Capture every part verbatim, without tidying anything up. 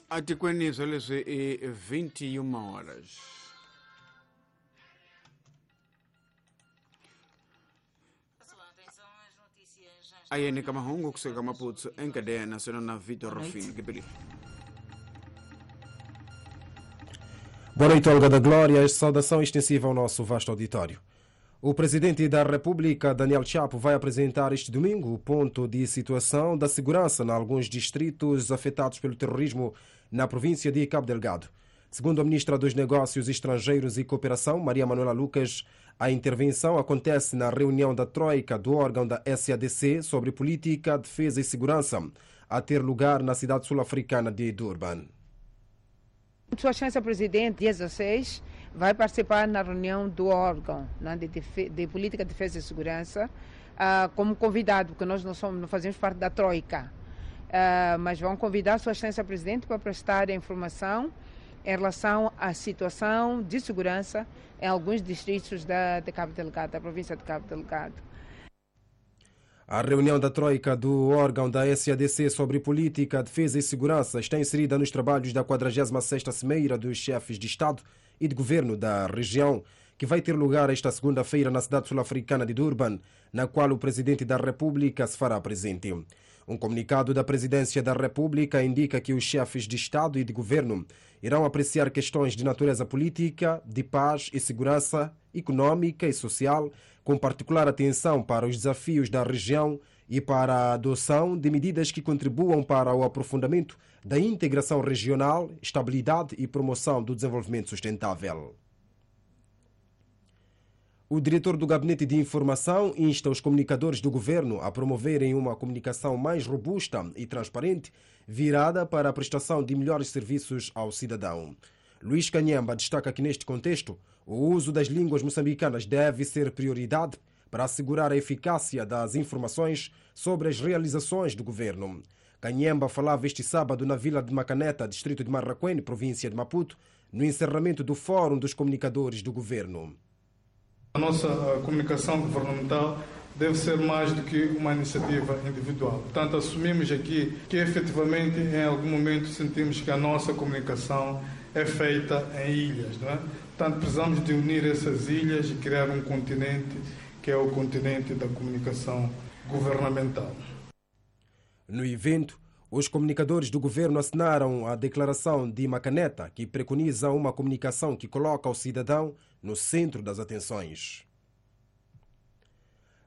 Atikweni swa leswi i vinte e uma horas. Ayene ka mahungu kusuka Maputo em cadeia nacional na Vitor Rufino Gibeli. Boa noite, Olga da Glória. Saudação extensiva ao nosso vasto auditório. O presidente da República, Daniel Chapo, vai apresentar este domingo o ponto de situação da segurança em alguns distritos afetados pelo terrorismo na província de Cabo Delgado. Segundo a ministra dos Negócios Estrangeiros e Cooperação, Maria Manuela Lucas, a intervenção acontece na reunião da Troika do órgão da S A D C sobre política, defesa e segurança, a ter lugar na cidade sul-africana de Durban. Sua Excelência Presidente, dia dezasseis, vai participar na reunião do órgão, né, de, de Política, Defesa e Segurança, uh, como convidado, porque nós não, somos, não fazemos parte da Troika. Uh, mas vão convidar Sua Excelência Presidente para prestar informação em relação à situação de segurança em alguns distritos da, de Cabo Delgado, da província de Cabo Delgado. A reunião da Troika do órgão da S A D C sobre política, defesa e segurança está inserida nos trabalhos da quadragésima sexta Cimeira dos Chefes de Estado e de Governo da região, que vai ter lugar esta segunda-feira na cidade sul-africana de Durban, na qual o Presidente da República se fará presente. Um comunicado da Presidência da República indica que os chefes de Estado e de Governo irão apreciar questões de natureza política, de paz e segurança, econômica e social, com particular atenção para os desafios da região e para a adoção de medidas que contribuam para o aprofundamento da integração regional, estabilidade e promoção do desenvolvimento sustentável. O diretor do Gabinete de Informação insta os comunicadores do governo a promoverem uma comunicação mais robusta e transparente, virada para a prestação de melhores serviços ao cidadão. Luís Canhemba destaca que, neste contexto, o uso das línguas moçambicanas deve ser prioridade para assegurar a eficácia das informações sobre as realizações do governo. Canhemba falava este sábado na vila de Macaneta, distrito de Marracuene, província de Maputo, no encerramento do Fórum dos Comunicadores do Governo. A nossa comunicação governamental deve ser mais do que uma iniciativa individual. Portanto, assumimos aqui que efetivamente em algum momento sentimos que a nossa comunicação é feita em ilhas, não é? Portanto, precisamos de unir essas ilhas e criar um continente que é o continente da comunicação governamental. No evento, os comunicadores do governo assinaram a Declaração de Macaneta, que preconiza uma comunicação que coloca o cidadão no centro das atenções.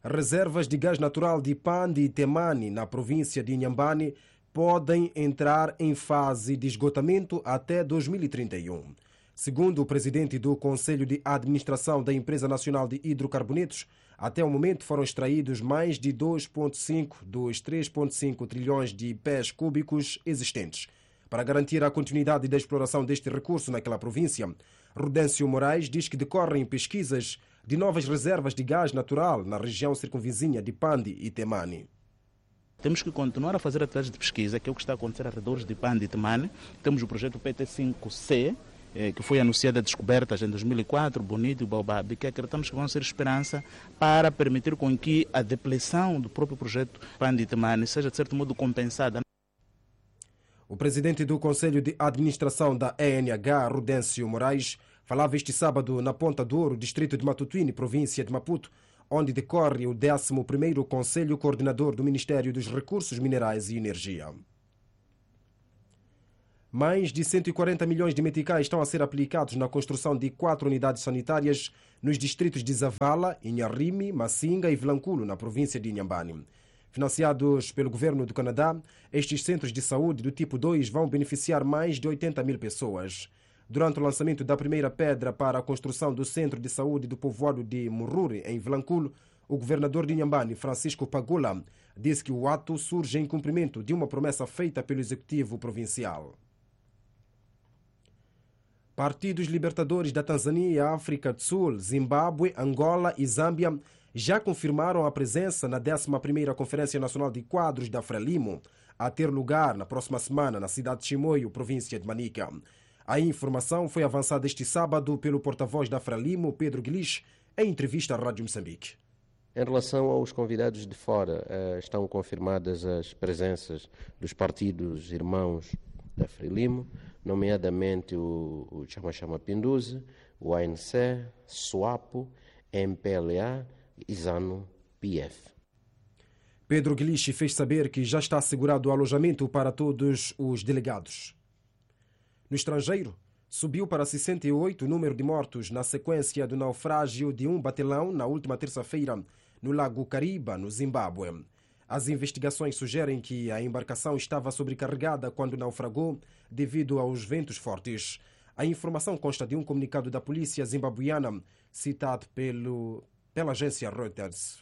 Reservas de gás natural de Pande e Temane, na província de Inhambane, podem entrar em fase de esgotamento até dois mil e trinta e um. Segundo o presidente do Conselho de Administração da Empresa Nacional de Hidrocarbonetos, até o momento foram extraídos mais de dois vírgula cinco dos três vírgula cinco trilhões de pés cúbicos existentes. Para garantir a continuidade da exploração deste recurso naquela província, Rudêncio Moraes diz que decorrem pesquisas de novas reservas de gás natural na região circunvizinha de Pande e Temane. Temos que continuar a fazer atividades de pesquisa, que é o que está a acontecer arredores de Pande e Temane. Temos o projeto P T cinco C, eh, que foi anunciada descobertas em dois mil e quatro, Bonito e Baobab, que acreditamos que vão ser esperança para permitir com que a depleção do próprio projeto Pande e Temane seja, de certo modo, compensada. O presidente do Conselho de Administração da E N H, Rudêncio Moraes, falava este sábado na Ponta do Ouro, distrito de Matutuine, província de Maputo, onde decorre o décimo primeiro Conselho Coordenador do Ministério dos Recursos Minerais e Energia. Mais de cento e quarenta milhões de meticais estão a ser aplicados na construção de quatro unidades sanitárias nos distritos de Zavala, Inharrime, Massinga e Vilanculo, na província de Inhambane. Financiados pelo governo do Canadá, estes centros de saúde do tipo dois vão beneficiar mais de oitenta mil pessoas. Durante o lançamento da primeira pedra para a construção do centro de saúde do povoado de Mururi, em Vilanculo, o governador de Inhambane, Francisco Pagula, disse que o ato surge em cumprimento de uma promessa feita pelo executivo provincial. Partidos libertadores da Tanzânia, África do Sul, Zimbábue, Angola e Zâmbia já confirmaram a presença na décima primeira Conferência Nacional de Quadros da Frelimo, a ter lugar na próxima semana na cidade de Chimoio, província de Manica. A informação foi avançada este sábado pelo porta-voz da Frelimo, Pedro Guilis, em entrevista à Rádio Moçambique. Em relação aos convidados de fora, estão confirmadas as presenças dos partidos irmãos da Frelimo, nomeadamente o, o Chama Chama Pinduzi, o A N C, SWAPO, M P L A e ZANU-P F. Pedro Guiliche fez saber que já está assegurado o alojamento para todos os delegados. No estrangeiro, subiu para sessenta e oito o número de mortos na sequência do naufrágio de um batelão na última terça-feira no Lago Kariba, no Zimbábue. As investigações sugerem que a embarcação estava sobrecarregada quando naufragou devido aos ventos fortes. A informação consta de um comunicado da polícia zimbabueana citado pelo, pela agência Reuters.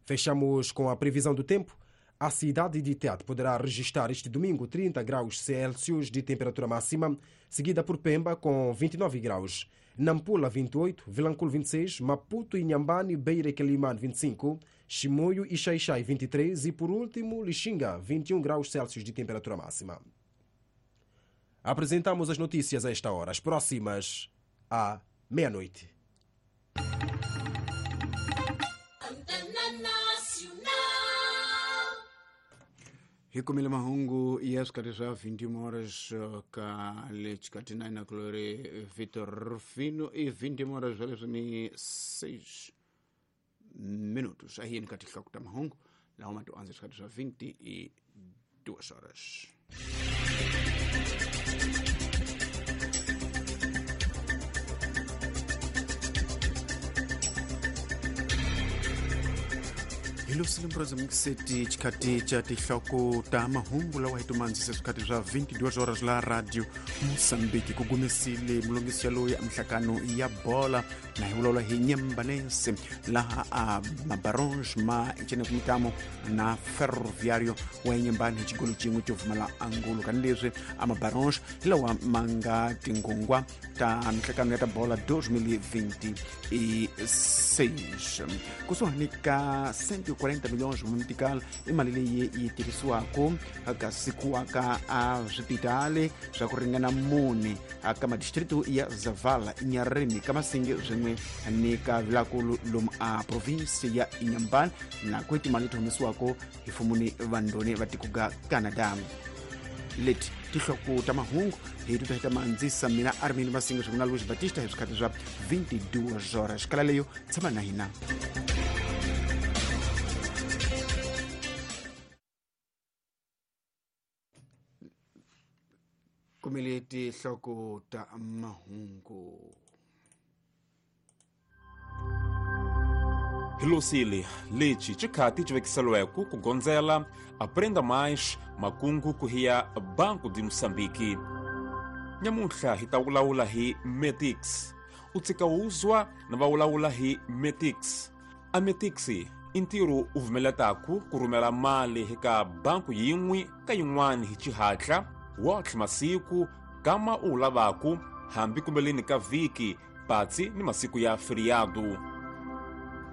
Fechamos com a previsão do tempo. A cidade de Tete poderá registrar este domingo trinta graus Celsius de temperatura máxima, seguida por Pemba com vinte e nove graus, Nampula vinte e oito, Vilanculo vinte e seis, Maputo, Inhambane, Beira e Quelimane vinte e cinco, Chimoio e Xaixai vinte e três e, por último, Lixinga vinte e um graus Celsius de temperatura máxima. Apresentamos as notícias a esta hora, as próximas à meia-noite. Hikumile mahungu ya swikati swa vinte e uma horas ka lechikati nine kulori Vitor Rufino e vinte e uma horas swaleswo ni seis minutos. Ahi ni katika kuta mahungu lawa ma tuanze swikati swa vinte e duas horas. Ilusilimbrozamikiseti chikati cha tihloko ta mahungu lawa hi tumandzise swikati swa vinte e duas horas la radio Moçambique kugumisile mulongisi loyi a mihlakano ya bola na hi vulavula hi Nyambanense laha a mabaronge ma ncene kumitamo na Ferroviário wa Nyambani hi xigolo xin'we xo pfumala angulo kanileswi a mabaronge hi lawa ma nga tingongwa ta mihlakano ya ta bola dois mil e vinte e seis kusuhani ka cento e quarenta milhões mumitical i mali leyi yi tirhisiwaka ka sikiwaka a swipitali swa ku ringana mune ka madistritu ya Zavala, Inharrime, Kamasinge swin'we ni ka Vilankulu lomu a provinsi ya Inhambane na ku timali leti humesiwaka hi mfumo ni vandoni va tiko ga Canada. Leti tihloko ta mahungu hi tuta hi ta mandzisa mina Armin Masinga swin'we na Luis Batista hi swikhathi swa vinte e duas horas. Kala leyo tshama na hina. Kumele tihloko ta mahungu. Hilosile, leti chikati chivekiselweko kugonzela aprenda mais makungu kuhiya Banco de Moçambique. Nyamunhla hi ta vulavula hi Metix. U tshika uzwa na va vulavula hi Metix. A Metix i ntirho u vumeletaku ku rhumela mali eka banku yin'we ka yin'wana hi xihatla wotlhe masiku kama u lavaku hambi kumbeleni ka vhiki patsi ni masiku ya feriado.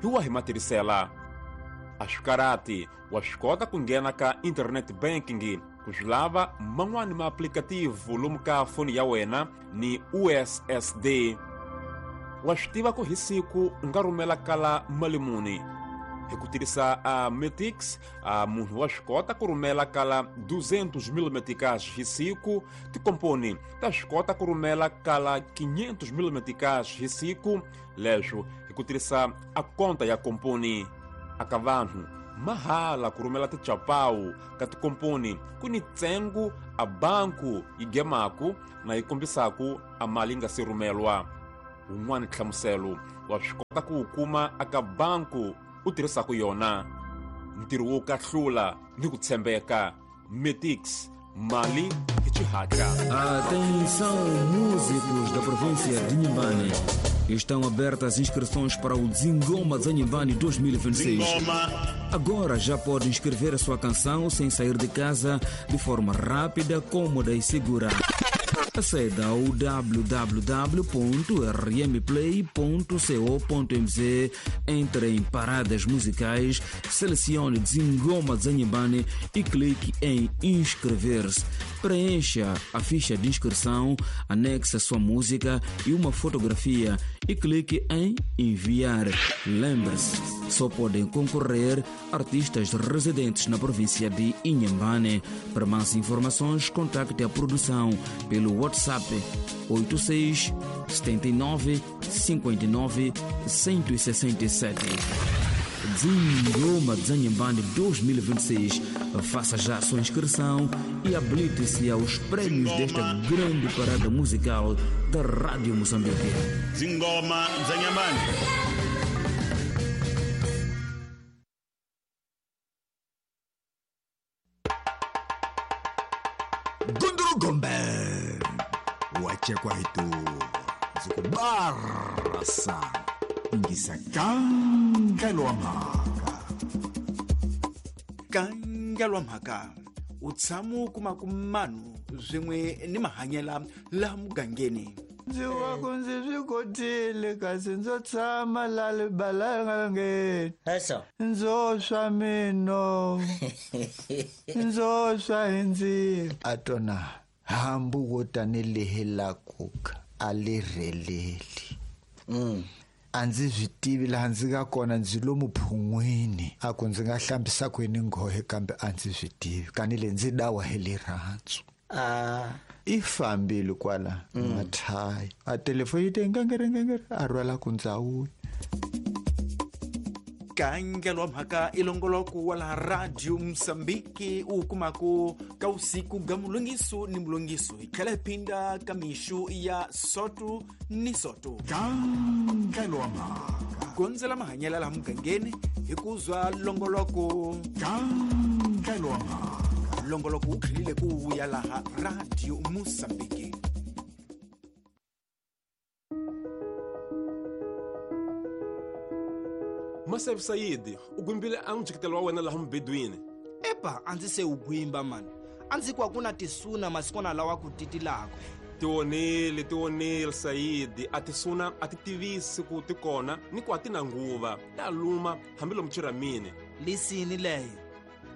Hi wa hi matirhisela a swikarati wa swi kota ku nghena ka internet banking ku swi lava man'wani ma applicative lomu ka foni ya wena ni U S S D. Wa swi tiva ku hi siku u nga rhumela kala mali muni hi ku tirhisa a Metix. A munhu wa swi kota ku rhumela kala duzentos mil meticais hi siku. Tikomponi ta swi kota ku rhumela kala quinhentos mil meticais hi siku. Leswo hi ku tirhisa a konta ya komponi. Aka vanhu mahala ku rhumela tichapawu ka tikomponi ku ni ntsengo a banku yi gemaku na yi kombisaku a mali yi nga se rhumelwa. Wun'wani nhlamuselo wa swi kota ku wu kuma aka banku u tirhisaka yona. Ntirho wo kahlula ni ku tshembeka. Metix, mali hi xihatla. Atenção, músicos da província de Inhambane. Estão abertas inscrições para o Zingoma Inhambane dois mil e vinte e seis. Agora já pode inscrever a sua canção sem sair de casa, de forma rápida, cômoda e segura. Aceda ao w w w ponto r m play ponto co ponto m z, entre em paradas musicais, selecione Zingoma Inhambane e clique em inscrever-se. Preencha a ficha de inscrição, anexe a sua música e uma fotografia e clique em Enviar. Lembre-se, só podem concorrer artistas residentes na província de Inhambane. Para mais informações, contacte a produção pelo WhatsApp oito seis, setenta e nove, cinquenta e nove, cento e sessenta e sete. Zingoma Dzanhambane dois mil e vinte e seis. Faça já a sua inscrição e habilite-se aos prêmios desta grande parada musical da Rádio Moçambique. Zingoma Dzanhambane. Gunduru Gombe Wachekwa hitu Zukubarasa Ingisa Kangalwa mhaka Kangalwa mhaka Utsamu kumakumanu Zwimwe ni mahanyela la mugangeni Ndzi wa ku ndzi swi kotile kasi ndzo tshama la libalangeni ndzo swa mino ndzo swa hi ndzilo a tona hambu wo tanihi la kuka a li rheleli a ndzi swi tivi laha ndzi nga kona ndzi lomu phun'wini a ku ndzi nga hlambisa kwini nghohe kambe a ndzi swi tivi kani le ndzi dawa hi rirhandzu ah i fambile kwala mathai a telefoni yi te ngengere ngengere a rhwala ku ndzawuya Kangelwa mhaka ilongoloko wa la Radio Mozambique u kumako ka usiku ga mulongiso ni mulongiso hi tlhela hi phinda ka mixo ya soto ni soto Kangelwa mhaka gondzela mahanyela laha mugangeni hi ku zwa longoloko Kangelwa mhaka longoloko wu tlhelile ku vuya laha Radio Mozambique. Masef Said, u gwimbile a mujikitelo wa wena laha mubedweni. Epa, a ndzi se u gwimba mani. A ndzi kwa ku na tisuna masikwana lawa ku titilaka. Tionile, tionile Said, a tisuna a ti tivisi ku ti kona ni ku a ti na nguva. Ta luma hambi lomu chiramini. Lisini leyo.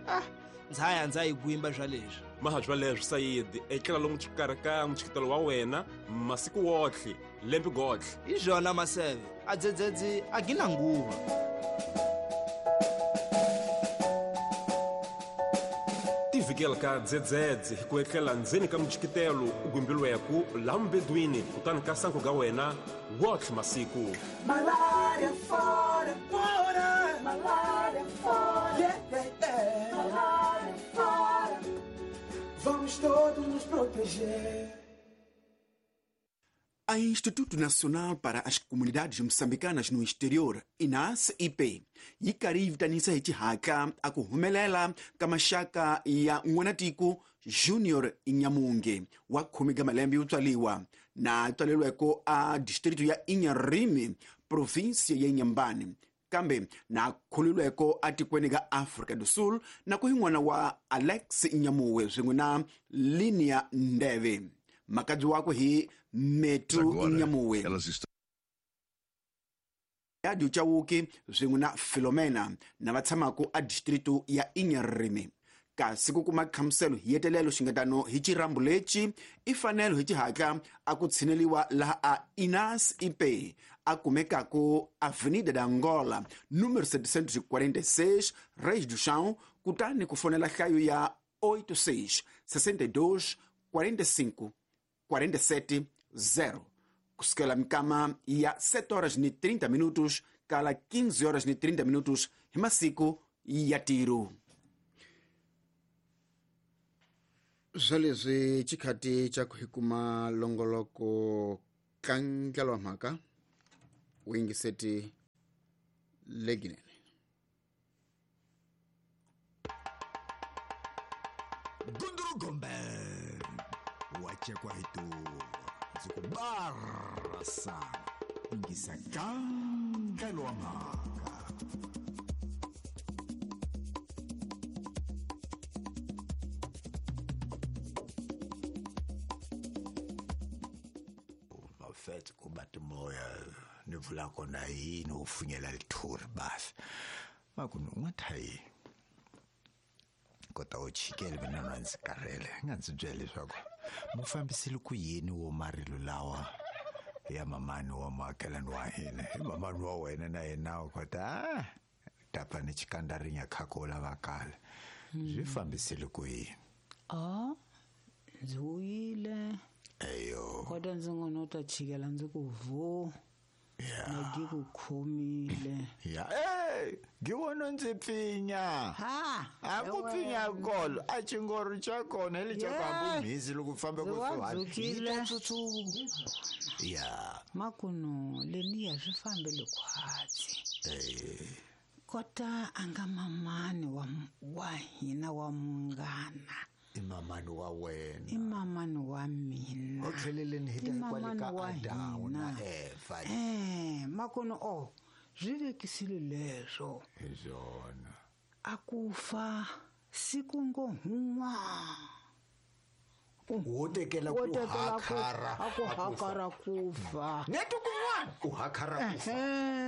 Ah, ndza ya ndza yi gwimba swa leswi. Maha swa leswi Said, etlela lomu xikarhi ka mujikitelo wa wena masiku wotlhe, lembe gotlhe. Hi swona Maseve, a dzedzedzi a gina nguva. Tivikela ka dzedzedze hi ku etlela ndzeni ka mujikitelo u gwimbilweku laha mubedweni kutani ka sanko ga wena wotlhe masiku. Malaria fora, fora, malaria fora, yeah, yeah, yeah. Malaria fora, vamos todos nos proteger. A Instituto Nacional para as Comunidades Moçambicanas no Exterior, I N A S I P, yi karhi yi vitanisa hi xihatla a ku humelela ka maxaka ya n'wanatiko Junior Nyamunge wa khume ka malembe yo tswaliwa na tswaleriweko a distrito ya Inharime, provinsia ya Inhambane, kambe na khululweko atikweni ka Afrika do Sul na ku hi n'wana wa Alex Nyamuwe swin'we na Linia Ndeve. Makadzi wakwe hi Metu Nyamuwe ya Chauke swin'we na Filomena na va tshamaka a distrito ya Inharime. Kasi ku kuma khamuselo hi yetelelo xingatano hi xirambu lexi i fanelo hi xihatla a ku tshineliwa laha a I N A S I P a kumekako Avenida da Angola número setecentos e quarenta e seis, Reis do Chão, kutani ku fonela hlayo ya oito seis, sessenta e dois, quarenta e cinco, quarenta e sete, zero. Kusukela mikama ya sete horas e trinta minutos kala quinze horas e trinta minutos hi masiku ya tiro. Swa leswi xikhati xa ku hi kuma longoloko kangelwa mhaka wu yingiseti leginene. Gunduru Gombe Wachekwa hitu Zukubarasa Ingisa kangelwa mhaka. Mafethu kubathi moya nivula kona yini ufunyela lithuri basi makunungathayi kota u chikele mina na ndzi karhele nga ndzi byela leswaku mufambisile ku yini wo marilo lawa ya mamani wa muakelani wa hina hi mamani wa wena na yena u kota tapa ni chikandarinya khakola vakala swi fambisile ku yini a ndzi wuyile eyo kota ndzi ngo no ta chikela ndzi ku vo Yeah. Na ngikukhomile ya eh ngiwona ndzi pfinya ha a ku pfinya kolo a chingoro cha kona le cha kwambu mhizi loko fambe ku suhani ya makuno leniya swi fambele khwatsi eh kota anga mamani wa wa hina wa munghana i mamani wa wena i mamani wa mina o tlheleleni hi ta kwale ka Adamu na Eva eh makuno o swi vekisile leswo hi swona a ku fa siku ngo hun'wa wo tekela ku hakhara a ku hakhara ku fa neto kun'wana u hakhara ku fa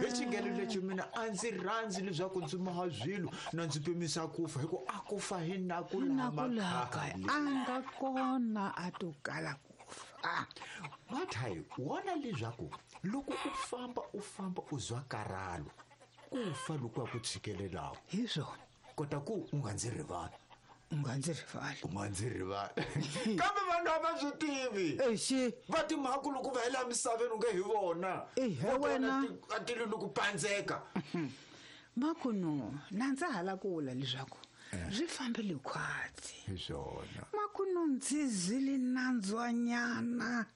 hi xingelo lexi mina a ndzi rhandzi leswaku ndzi maha swilo na ndzi pimisa ku fa hi ku a ku fa hi na ku lama a nga kona a to kala ku fa Mathayi wona leswaku loko u famba u famba u zwa karhalo ku fa loko a ku tshikelelaka hi swona kota ku u nga ndzi rivali u nga ndzi rivali u nga ndzi rivali kambe vanhu a va swi tivi exi va timhaku loko va hela misaveni u nge hi vona ehe wena a tilo ni ku pandzeka makuno na ndza hala ku vula leswaku swi fambile khwatsi hi swona makuno ndzi zile nandzwanyana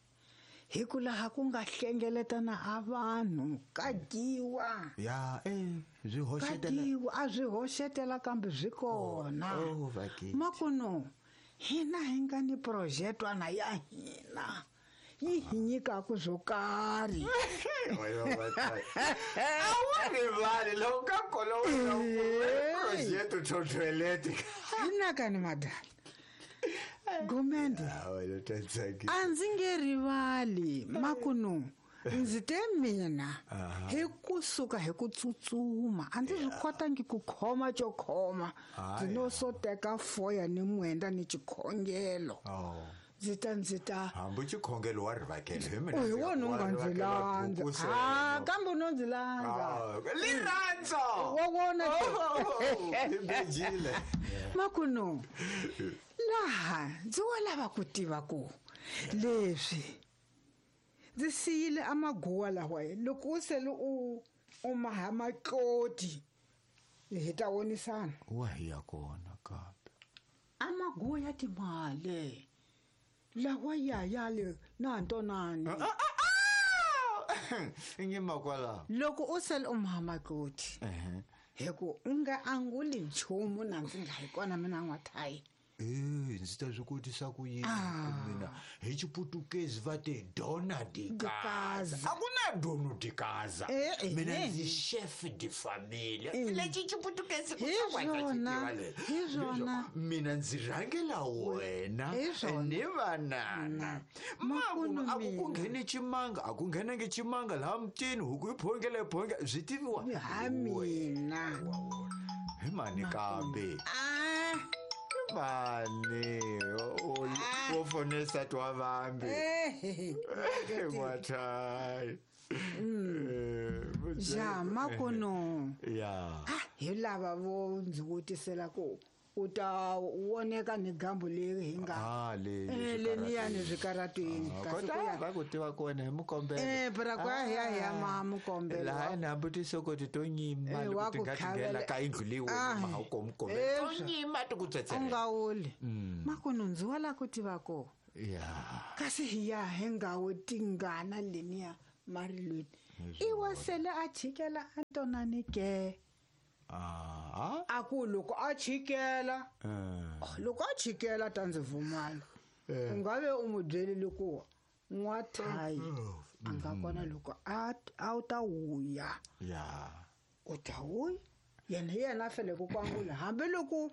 hi ku laha ku nga hlengeletana a vanhu ka dyiwa ya eh swi hoxetela dyiwa a swi hoxetela kambe swi kona oh vakiti makuno hina hi nga ni projetwana ya hina yi hi nyikaku swo karhi a wu rivali loko ka kona projeto totoilet hinakani madala Gumende a ndzi nge rivali makuno ndzi te mina hi kusuka hi ku tsutsuma a ndzi swi kotangi ku khoma xo khoma ndzi no so teka foya ni mwenda ni xikhongelo ndzi ta ndzi ta hambi xikhongelo wa rivakele hi mina hi wona u nga ndzi landza a kambe u no ndzi landza lirhandza wa wona hi bejile makuno laha ndzi wa lava ku tiva ku leswi ndzi siyile amaguwa lawa loko u sele u u maha matloti hi ta vonisana wa hi ya kona kambe amaguwa ya timali lawa ya ya le na ntonani nyima kwala loko u sele u maha matloti hi ku u nga anguli nchumu na ndzi nga hi kona mina n'wathayi Eh, ndzi ta swi kotisa ku yini mina hi xiputukezi va te dona de casa a ku na dono de casa mina ndzi chef de famille lexi xiputukezi hi swona hi swona mina ndzi rhangela wena ni vanana makuno a ku ku ngheni ximanga a ku nghenangi ximanga laha mutini huku yi phongela yi phongela swi tiviwa ha mina hi mani kambe mani wo fonesa twa vambi n'wathayi ja makuno ya hi lava vo ndzi vutisela ku u ta voneka ni gambu leri hi nga leniyani swikaratweni kota va ku tiva kona hi mukombelo eh bra kwa ya ya ma mukombelo laha na hambi tisokoti to nyima loko ti nga tinghena ka yindlu leyi wena ma wu komukombelo to nyima ti ku tsetsela u nga wuli makuno ndzi wa la ku tiva ko ya kasi hi ya hi nga wu tingana leniya marilweni i wa sele a chikela a ntonani ke Ah, a ku loko a chikela loko a chikela ta ndzi vumala u nga ve u n'wi byelile ku n'wathayi a nga kona loko a a wu ta wuya ya u ta wuya yena hi yena a fanele ku angula hambiloko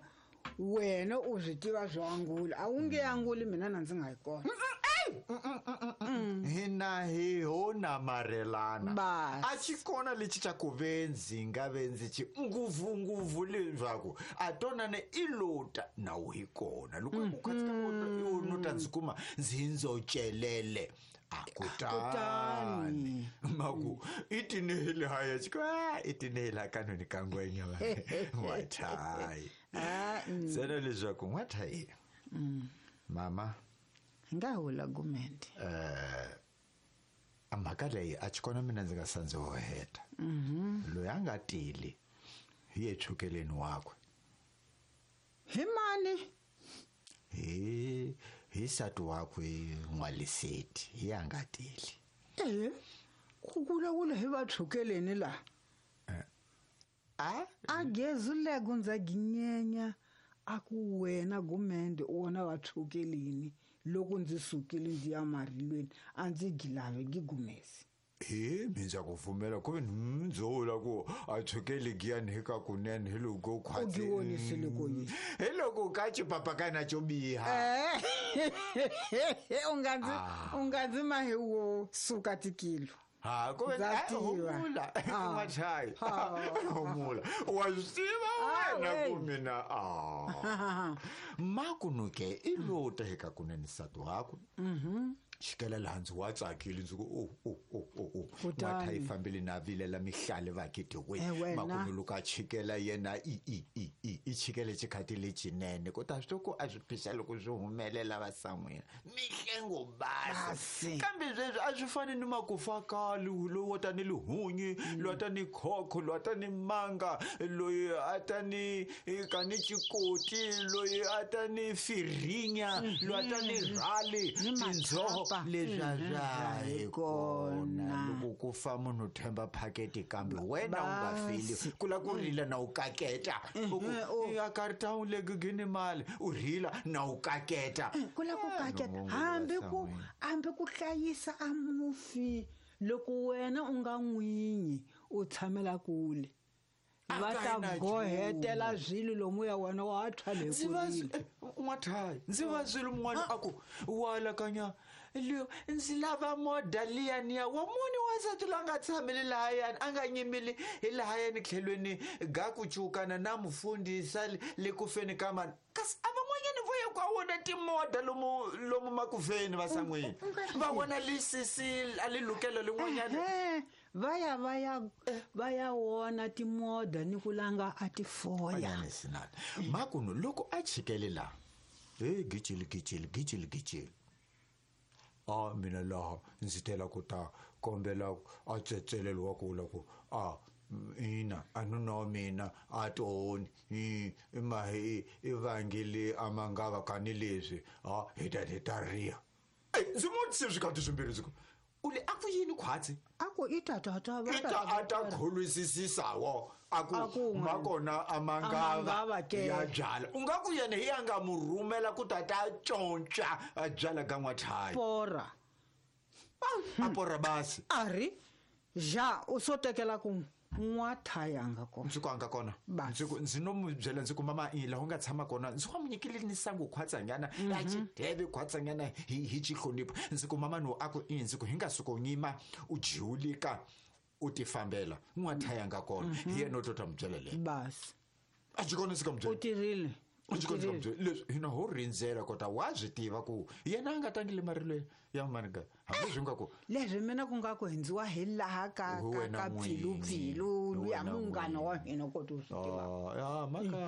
wena u swi tiva swo angula a wu nge anguli mina na ndzi nga yi kona Hina hi ho namarhelana a xi kona lexi xa ku ve ndzi nga ve ndzi xi nguvunguvu leswaku a tonane i lota na wu hi kona loko ku khatsika ku no ta ndzi kuma ndzi ndzo celele a kutani maku i tinehile haya xi i tinehile kanoni ka ngwenya n'wathai ntsena leswaku n'wathai mama nga hula gumende eh mhaka leyi a xi kona mina ndzi nga sandzi ho heta loyi a nga tili hi ye chukeleni wakwe hi mani hi hi nsati wakwe n'waliseti hi a nga tili eh ku vulavula hi va chukeleni la a a gezuleko ndza ginyenya a ku wena gumende u wona va chukeleni loko ndzi sukile ndzi ya marilweni a ndzi gilave gigumesi he mina ku pfumela ku ndzula ku a chukele giyani hi ka kunene hi loko khwatsi u giwonisile ko yini hi loko ka xipapakana xo biha u nga ndzi u nga ndzi mahi wo suka tikilo ha ku humula n'wachayi humula wa swi tiva wena ku mina a makunuke i lota hi ka kunene nsati wakwe xikela laha ndzi wa tsakile ndzi ku o o o o o n'watha yi fambile na vilela mihlale vakiti we makumu loko a chikela yena i i i i i chikele xikhati lexinene ku ta swi ku a swi phisa loko swi humelela vasan'wina mihlengo basi kambe sweswi a swi fani ni makufa kali loyi wa ta ni lihunyi loyi a ta ni khokho loyi a ta ni manga loyi a ta ni ka ni xikoti loyi a ta ni firinya loyi a ta ni rhali tindzoho leswi a swa hi kona loko ku fa munhu themba phaketi kambe wena u nga feli ku la ku rila na u kaketa u ku a karita u le gugini mali u rila na u kaketa ku la ku kaketa hambi ku hambi ku hlayisa a mufi loko wena u nga n'winyi u tshamela kule va ta gohetela swilo lomu ya wena wa tshwa le ku n'wathayi ndzi va swilo mun'wana a ku wa alakanya leyo ndzi lava moda liyaniya wa muni wansati loyi a nga tshameli lahayani a nga nyimeli hi lahayani tlhelweni ga ku cukana na mufundhisa le ku feni ka mani kasi a van'wanyani vo ya ku a wona timoda lomu lomu makufeni vasan'wini va vona lisisi a li lukelo lin'wanyani va ya va ya va ya wona timoda ni ku langa a ti foya makunu loko a chikele la he gijili gijili gijili gijili a mina laha ndzi tela ku ta kombela a tsetselelo wa ku la ku a ina a nuna wa mina a toni i mahi i vangile a mangava kani leswi a hi ta hi ta riya ndzi mu se swi kati swimbirhi ndzi ku u le a ku yini khwatsi a ku i tatata i ta a ta kholwisisisawo a ku makona a mangava ya byala u nga ku yena hi ya nga mu rhumela ku ta ta conca a byala ka n'wathayi porra a porra basi a ri ja u so tekela ku n'wathaya nga kona ndzi ku a nga kona ndzi ku ndzi no mu byela ndzi ku mama i laha u nga tshama kona ndzi wa mu nyikile ni sangu khwatsanyana a xideve khwatsanyana hi hi xihlonipho ndzi ku mama no a ku i ndzi ku hi nga suka u nyima u jiwulika u ti fambela n'wathaya nga kona hi yena u to ta mu byela leyo basi a xi kona ndzi ka mu byela u tirhile a xi kona ndzi ka mu byela leswi hina ho rindzela kota wa swi tiva ku yena a nga tangile marilweni ya maniga hambi swi nga ku leswi mina ku nga ku hundziwa hi laha ka ka ka pfilupfilu luya munghana wa mina kota u swi tiva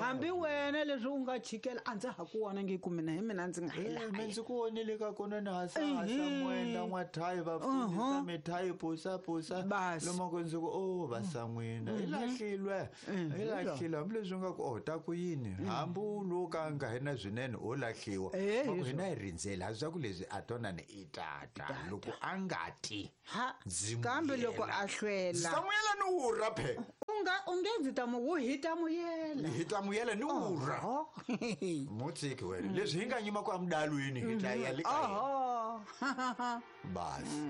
hambi wena leswi u nga chikela a ndza ha ku vona nge ku mina hi mina ndzi nga hi laha mina ndzi ku vonile ka kona ni hasa hasa mwenda n'wathayi va fundisa mithayi pusa pusa lomo ku ndzi ku o vasan'wina i lahlilwe i lahlile hambileswi nga ku o ta ku yini hambi u lo ka nga hi na swinene o lahliwa ku hina hi rindzela ha swa ku leswi a tonani i tata loko a nga ti ha kambe loko a hlwela samuyela ni wurha phe u nga u nge ndzi ta mu wu hi ta muyela hi ta muyela ni wurha mutsiki wena leswi hi nga nyima ku amudalweni hi ta ya le ka oho basi.